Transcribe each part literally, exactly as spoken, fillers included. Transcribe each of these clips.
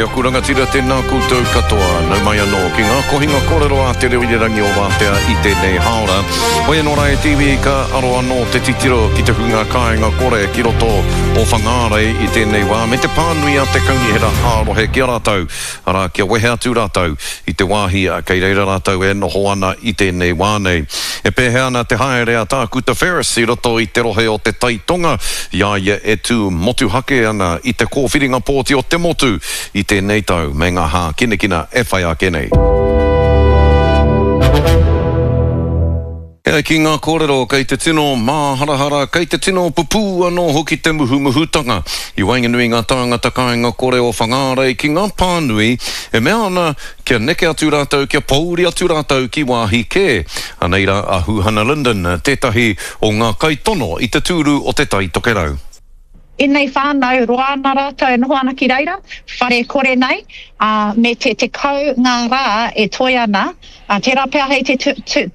E aku rangatira, tēnā koutou katoa. Nau mai anō ki ngā kohinga kōrero a Te Reo Irirangi o Wātea i tēnei hāora. Hoi anō rā e te iwi, ka aro anō te titiro ki te hunga kāinga kore ki roto o Whangārei i tēnei wā me te pānui a te kaunihera ā-rohe ki a rātou, arā, kia wehe atu rātou i te wāhi kei reira rātou e noho ana i tēnei wā nei. E pēhea ana te haere a Tākuta Ferris i roto i te rohe o Te Tai Tonga i a ia e tū motuhake ana i te kōwhiringa pōti o te motu i tēnei tau me ngā hākinakina e whai ake nei. E ai ki ngā kōrero, kei te tino māharahara, kei te tino pupū anō hoki te muhumuhutanga i waenganui i ngā tāngata kāinga kore o Whangārei ki ngā pānui e mea ana kia neke atu rātou, kia pōuri atu rātou ki wāhi kē. Anei rā a Huhana Lyndon, tētahi o ngā kaitono i te tūru o Te Tai Tokerau. Ēnei whānau, roa ana rātou e noho ana ki reira, whare kore nei, ā, me te tekau ngā rā e toe ana, ā, tērā pea hei te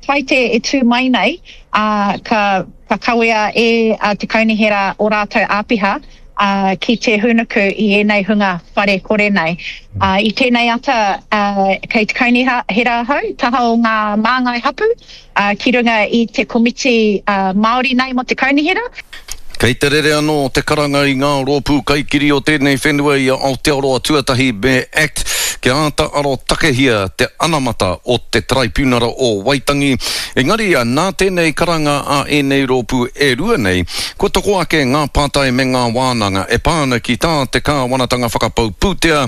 Taite e tū mai nei, ā, ka, ka kawea e te kaunihera ō rātou āpiha, ā, ki te hūnuku i ēnei hunga whare kore nei. Ā, i tēnei ata, ā, kei te kaunihera ahau, taha o ngā māngai hapū, ā, ki runga i te komiti, ā, Māori nei mō te kaunihera. Kei te rere anō te karanga i ngā rōpū kaikiri o tēnei whenua i a Aotearoa Tuatahi me act kia āta arotakehia te anamata o te Taraipiunara o Waitangi. Engari, nā tēnei karanga a ēnei rōpū e rua nei, kua toko ake ngā pātai me ngā wānanga e pā ana ki tā te kāwanatanga whakapau pūtea,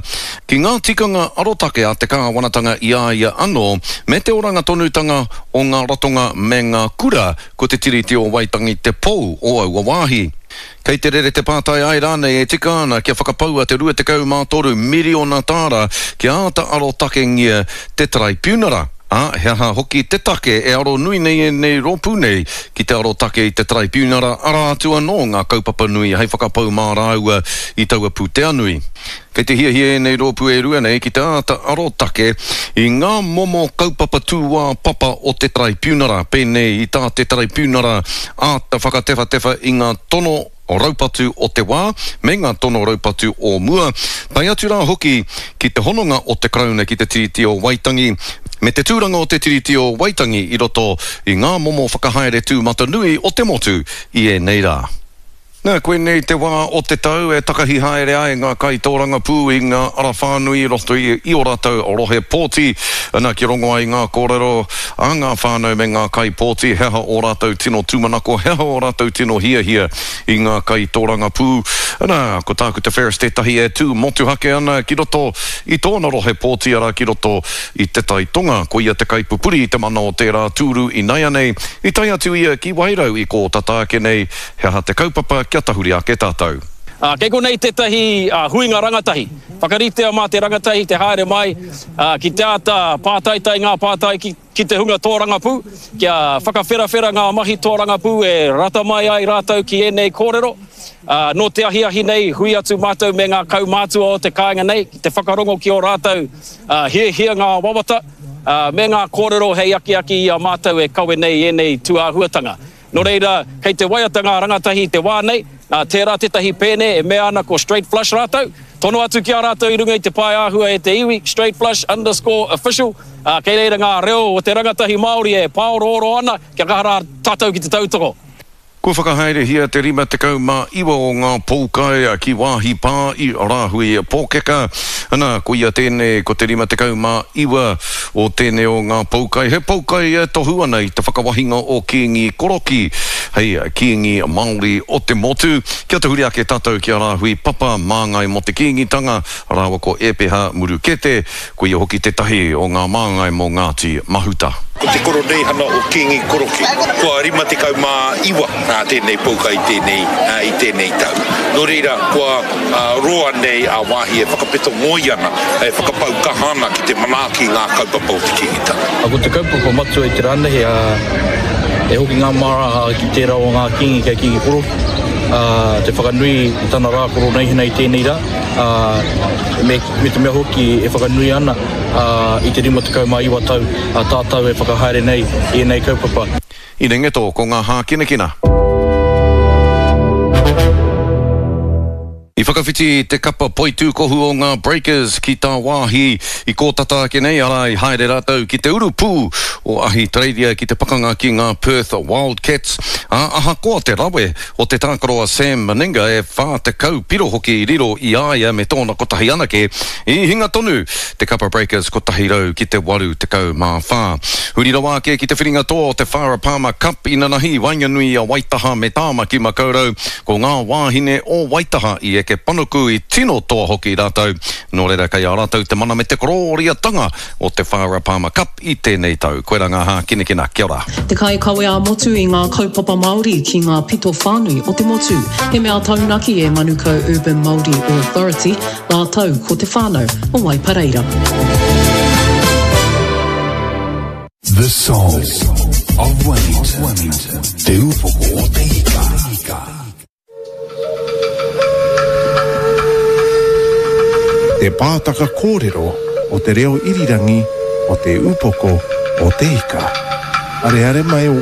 ki ngā tikanga arotake a te kāwanatanga i a ia anō, me te oranga tonutanga o ngā ratonga me ngā kura. Ko te Tiriti o Waitangi te pou o aua wāhi. Kei te rere te pātai āe rānei e tika ana kia whakapaua te rua tekau mā toru miriona tāra kia āta arotakengia te Taraipiunara, ā, he aha hoki te take e aro nui nei ēnei rōpū nei ki te arotake i te Taraipiunara, arā atu anō ngā kaupapa nui hei whakapau mā rāua i taua pūtea nui. Kei te hiahia ēnei rōpū e rua nei ki te āta arotake i ngā momo kaupapa tūāpapa o te Taraipiunara, pēnei i tā te Taraipiunara āta whakatewhatewha i ngā tono raupatu o te wā me ngā tono raupatu o mua, tae atu rā hoki ki te hononga o te Karauna ki te Tiriti o Waitangi me te tūranga o te Tiriti o Waitangi i roto i ngā momo whakahaere tūmatanui o te motu i ēnei rā. Nā, koinei te wā o te tau e takahi haere ai ngā kaitōrangapū i ngā ara whānui i roto i ō rātou rohe pōti. Nā, kia rongo ai ngā kōrero a ngā whānau me ngā kaipōti, he aha ō rātou tino tūmanako, he aha ō rātou tino hiahia i ngā kaitōrangapū. Nā, ko Tākuta Ferris tētahi e tū motuhake ana ki roto i tōna rohe pōti, arā, ki roto i Te Tai Tonga. Ko ia te kaipupuri i te mana o tērā tūru inaianei. I tae atu ia ki Wairau i kō tata ake nei. He aha te kaupapa kia tahuri ake tātou? Ā, kei konei tētahi huinga rangatahi. Whakaritea mā te rangatahi te haere mai ki te āta pātaitai ngā pātai ki, ki te hunga tōrangapū, kia whakawherawhera ngā mahi tōrangapū e rata mai ai rātou ki ēnei kōrero. Ā, nō te ahiahi nei, hui atu mātou me ngā kaumātua o te kāinga nei ki te whakarongo ki ō rātou hiahia, ngā wawata, ā, me ngā kōrero hei akiaki i a mātou e kawe nei i ēnei tūāhuatanga. Nō reira, kei te waiata ngā rangatahi i te wā nei, nā, tērā tētahi pēne e mea ana ko Straight Flush rātou, tono atu ki a rātou i runga i te pae āhua e te iwi, straightflush underscore official, ā, kei reira ngā reo o te rangatahi Māori e pāorooro ana, kia kaha rā tātou ki te tautoko. Kua whakahaerehia te rima tekau mā iwa o ngā poukai ki wāhi pā i Rāhui Pōkeka. Ana, koia tēnei ko te rima tekau mā iwa o tēnei o ngā poukai. He poukai e tohu ana i te whakawahinga o Kīngi Korokī hei Kīngi Māori o te motu. Kia tahuri ake tātou ki a Rāhui Papa, māngai mō te Kīngitanga, rāua ko Ēpeha Murukete, Ko ia hoki tētahi o ngā māngai mō Ngāti Mahuta. Ko te koroneihana o Kīngi Koroki, kua rima tekau mā iwa tēnei pouka i tēnei, i tēnei tau. Nō reira, kua roa nei a Wāhi e whakapeto ngoi ana, e whakapau kaha ana ki te manaaki i ngā kaupapa o te Kīngitanga. Ko te kaupapa matua i te rā nei, e hoki ngā māra ki tērā o ngā Kīngi kei Kīngi Koroki, te whakanui i tana rā koroneihana i tēnei rā, me, me te mea hoki e whakanui ana i te rima tekau mā iwa tau a tātou e whakahaere nei i ēnei kaupapa. I Rengeto, ko ngā hākinakina. I whakawhiti te kapa poitūkohu o ngā Breakers ki tāwāhi i kō tata ake nei, arā, i haere rātou ki te urupū o Ahitereiria ki te pakanga ki ngā Perth Wildcats, ā, ahakoa te rawe o te tākaro a Sam Meninga e whā tekau piro hoki i riro i a ia me tōna kotahi anake, i hinga tonu te kapa Breakers kotahi rau ki te waru tekau mā whā. Huri rawa ake ki te whiringa toa o te Farah Palmer Cup inanahi i waenganui i a Waitaha me Tāmaki Makaurau, ko ngā wāhine o Waitaha i eke panuku i tino toa hoki rātou, nō reira kei a rātou te mana me te korōriatanga o te Farah Palmer Cup i tēnei tau. Koirā ngā hākinakina. Kia ora. Te kaikawe ā-motu i ngā kaupapa Māori ki ngā pito whānui o te motu. He mea taunaki e Manukau Urban Māori Authority rātou ko te whānau o Waipareira. The Soul of Wellington. Te Upoko o te Ika. Te pātaka kōrero o te reo irirangi o Te Upoko o te Ika. Areare mai o